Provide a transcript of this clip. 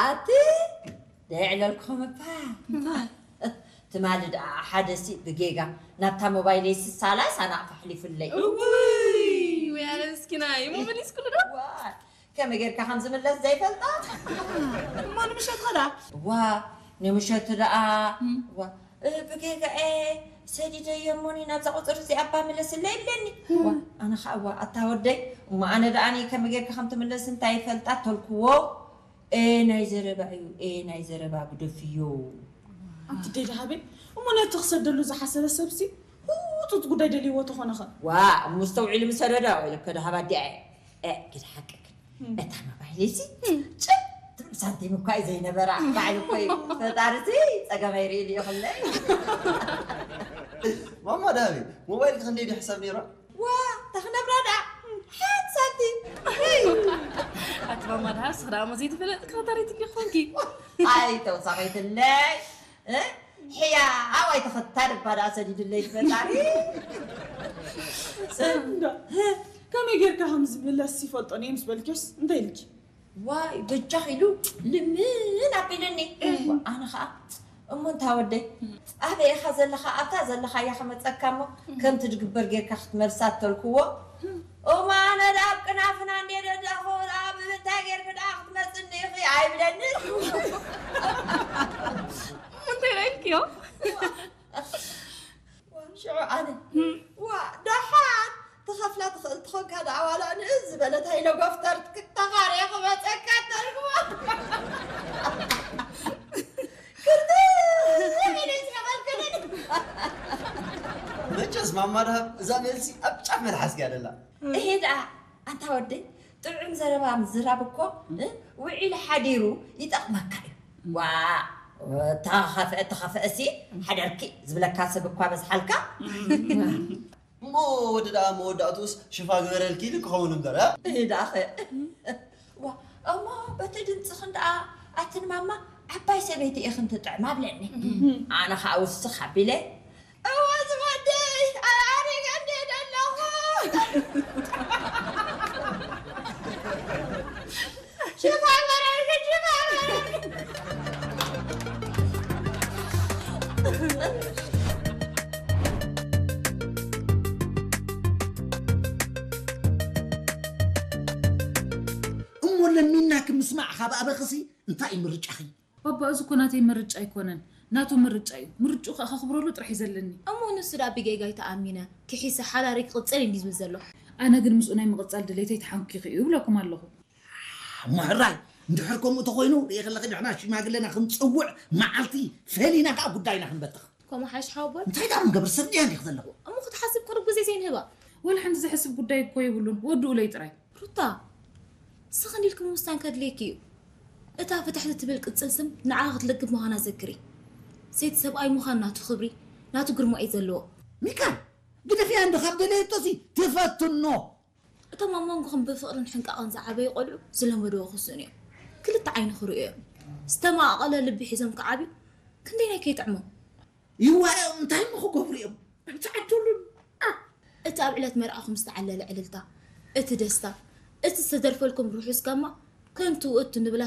ኣቲ ደይዕለልኩም እባ። ትማሊ ደኣ ሓደ ሲ ብጌጋ ናብታ ሞባይለይ ስሳላ ሳናቕ ፈሕሊፉለይ። እውይ፣ ወይ ኣነ ምስኪናይ፣ እሞ መሊስኩሉ ዶ? ዋ፣ ከመይ ጌርካ ከም ዝምለስ ዘይፈልጣ። እሞ ንምሸት ኸዳ? ዋ፣ ንምሸት ደኣ፣ ዋ፣ እ፣ ብጌጋኤ ሰዲደዮ እሞኒ ናብዛ ቁፅሪ እዚኣ እባ ምለስለይ ይብለኒ። ዋ፣ ኣነ ኸዓ፣ ዋ፣ ኣታ ወደይ፣ እሞ ኣነ ደኣኒ ከመይ ጌርካ ከም ትምለስ እንታይ ይፈልጣ ተልክዎ። ኤ ናይ ዘረባ እዩ፣ ኤ ናይ ዘረባ ግደፍዮ። ኣንቲ ደይ ደሃበይ፣ እሞ ነቲ ክሰደሉ ዝሓሰበ ሰብሲ ህጹጽ ጉዳይ ደልይዎ ተኾነኸ? ዋ፣ እሞ ኣስተውዒሉ ምሰደዶ፣ ኢለ ከደሃባ ኣዲኣ እየ። እ፣ ግደ ሓቅክ። እም። እታ ሞባይለይሲ እም። ጭብ ትብል ሳንቲም እኳ እዩ ዘይነበራ። ባዕሉ እኮ እዩ ፈጣሪሲ ጸገመይ ርእዩ ድዩ ክለይ። ማማ ደሃበይ፣ ሞባይልኪ ክንደይ ድዩ ሕሳብ ነይራ? ዋ፣ ተኽነብራ ደኣ ሓንቲ ሳንቲም። ኣቲ ማማ ደሃብ፣ ስኽ ደኣ እሞ ዘይትፈለጥ ክኸታሪት እንዲ ኾንኪ። ኣይ፣ ተውሳኸይትለይ። እ? ሕያ፣ ኣዋይ ተኸታሪ እባ ደኣ ሰዲዱለይ ፈጣሪ። እንዳ፣ ከመይ ጌርካ ከም ዝምለስ ይፈልጦ እየ ምስ በልክዮስ፣ እንታይ ኢልኪ? ዋይ፣ በጃኽ ኢሉ ልምን ኣቢሉኒ። ኣነ ኸኣ፣ እሞ እንታ ወደይ፣ ኣበይ ኢኻ ዘለኻ? ኣብታ ዘለኻያ ክመጸካ እሞ፣ ከምቲ ድግበር ጌርካ ክትመልሳ ተልክዎ። እሞ ኣነ ደኣ ኣብ ቅናፍና እንድየ ደለኹ፣ ደኣ ብምንታይ ጌርኪ ደኣ ክትመጽኒ ኢኺ ኣይብለንን። እንታይ ኢልክዮ? ዋ፣ ሽዑ ኣነ፣ ዋ፣ ደሓን ትኸፍላ ትኽእል ትኾንካ ደኣ ዋላ ንእስ ዝበለት ሃይለኮፍተር ተኻርየ ክመጸካ ተልክዎ። ክርትዕ ኢለ ዝነበርክንን። መቸስ ማማ ደሃብ እዛ መልሲ ኣብ ጫፍ መልሓስኪ እያ ደላ። እሄ ደኣ፣ ኣንታ ወደይ፣ ጥዑም ዘረባ ምዝራብ እኮ፣ እ፣ ውዒሉ ሓዲሩ ይጠቕመካ እዩ። ዋ፣ ተኸፍአ፣ ተኸፍአሲ፣ ሓደርኪ ዝብለካ ሰብ እኳ በዝሓልካ። እሞ ወዲ ደኣ መወዳእትኡስ ሽፋ ግበረልኪ ኢሉ ክኸውን እምበር፣ እ? እህ፣ ደኣኸ። ዋ፣ እሞ በቲ ድምፅኽን ደኣ ኣትን ማማ ዓባይ ሰበይቲ ኢኽን ትጥዕማ ብለኒ። ኣነ ኸኣ ውስኽ ኣቢለ፣ እወ ዝወደይ፣ ኣሪገ እንድየ ደለኹ። ሽፋ ግበረልኪ፣ ሽፋ ግበረልኪ። እሞ ለሚናኪ ምስማዕ ካብ ኣበኽሲ እንታይ እዩ ምርጫኺ? ባባ፣ እዚ እኮ ናተይ ምርጫ ኣይኮነን፣ ናቱ ምርጫ እዩ። ምርጭኡ ከኣ ከኽብረሉ ጥራሕ እዩ ዘለኒ። እሞ ንሱ ደኣ ብጌጋይ ተኣሚነ ክሒሰ ሓዳረይ ክቕጽል እንዲ ዝብል ዘሎ። ኣነ ግን ምስኡ ናይ ምቕጻል ድሌተይ ተሓንኪኹ እዩ እብለኩም ኣለኹ። እሞ ሕራይ፣ እንድሕር ከምኡ ተኾይኑ፣ ርእየ ከለኺ ንሕና ሽማግለና ክንጽውዕ፣ መዓልቲ ፈሊና ከኣ ጉዳይና ክንበትኽ። ከምኡ ሓይሽ ሓወቦይ። እንታይ ደኣ ክንገብር፣ ሰብ ድያ እንዲኽ ዘለኹ? እሞ ክትሓስብ ቅሩብ ግዜ ዘይንህባ? ወላ ሓንቲ ዘሕስብ ጉዳይ እኮ የብሉን፣ ወድኡለይ ጥራይ። ሩታ፣ ስኽን ኢልኪ ምውሳን ከድልየኪ እዩ። እታ ፍትሕቲ ትብል ቅጽል ስም ንዓኺ ክትልግብ ምዃና ዘክሪ። ሴት ሰብኣይ ምዃን ናቱ ክብሪ፣ ናቱ ግርማ እዩ ዘለዎ። ሚካል፣ ግደፍያ እንዶ ካብ ደለየቶሲ ትፈትኖ። እቶም ኣብ መንጎኹም ብፍቕርን ሕንቃቐን ዝዓበዩ ቆልዑ ዝለመድዎ ክስእኑ እዮም። ክልተ ዓይኒ ክርእዩ እዮም። ዝተማቐለ ልቢ ሒዞም ክዓብዩ ክንደይናይ ከይጥዕሞም። ይዋኦም እንታይ እሞ ክገብሩ እዮም? ኣይትዓድሉን። ኣ! እቲ ኣብ ዕለት መርዓኹም ዝተዓለለ ዕልልታ፣ እቲ ደስታ፣ እቲ ዝተደርፈልኩም ርሑስ ጋማ ከንቱ ውእቱ ንብላ